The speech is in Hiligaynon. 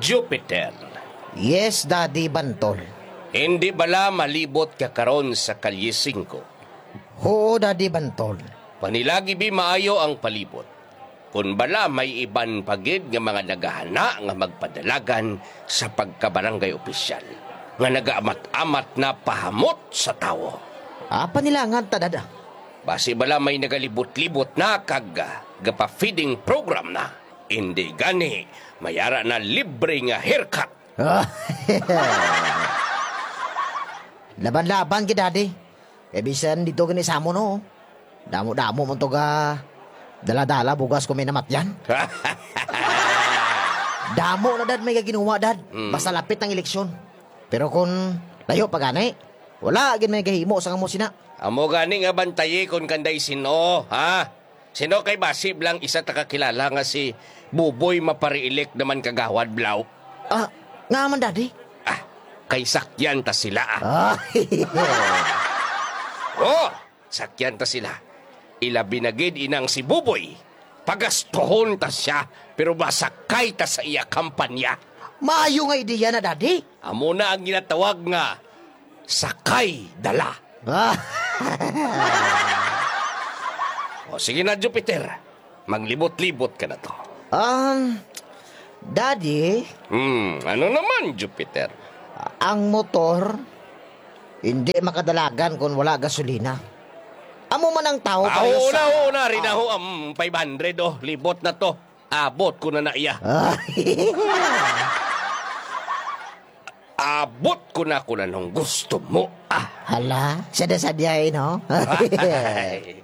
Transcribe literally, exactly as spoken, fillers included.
Jupiter. Yes, Daddy Bantol. Hindi bala malibot ka karon sa Kalye Singko? Oo, Daddy Bantol. Panilagi bi maayo ang palibot. Kun bala may iban pa gid nga mga nagahana nga magpadalagan sa pagkabarangay opisyal nga nagaamat-amat na pahamot sa tawo. Ah, panilangan ta, Dad, ah. Basi bala may nagalibot-libot na kag, ah, gapa-feeding program na. Indi gani, mayara na libre nga haircut. Laban-laban gid, Daddy. Kay bisan dito gani sa amon, no? Damo-damo man to ga dala-dala bugas kung may namatyan. Damo na, Dad, may gaginuwa, Dad. Mm. Basta lapit ang eleksyon. Pero kung layo pa gani, wala gid may gahimo sa kamo sina. Amo gani nga bantayi kon kanday sino, ha? Sino kay basi blang isa ta kakilala nga si Buboy mapare-elect naman kagawad, Blaw? Ah, nga man, Daddy? Ah, kay sakyan ta sila, ah. Ah. Oh, sakyan ta sila. Ilabi na gid inang si Buboy. Pagastuhon ta siya, pero masakay ta sa iya kampanya. Maayo nga ideya na, Daddy. Amo na ang ginatawag nga sakay dala. Ah. O, sige na, Jupiter. Maglibot-libot ka na to. Um, Daddy, Hmm, ano naman, Jupiter? Ang motor, hindi makadalagan kung wala gasolina. Amo man ang tao. Ah, pareho oo sa na, oo na. Rinaho, um, five hundred, oh. Libot na to. Abot ko na na iya. Ah. Abot ko na kung anong gusto mo, ah. Hala, siya na sadya, eh, no? Ay.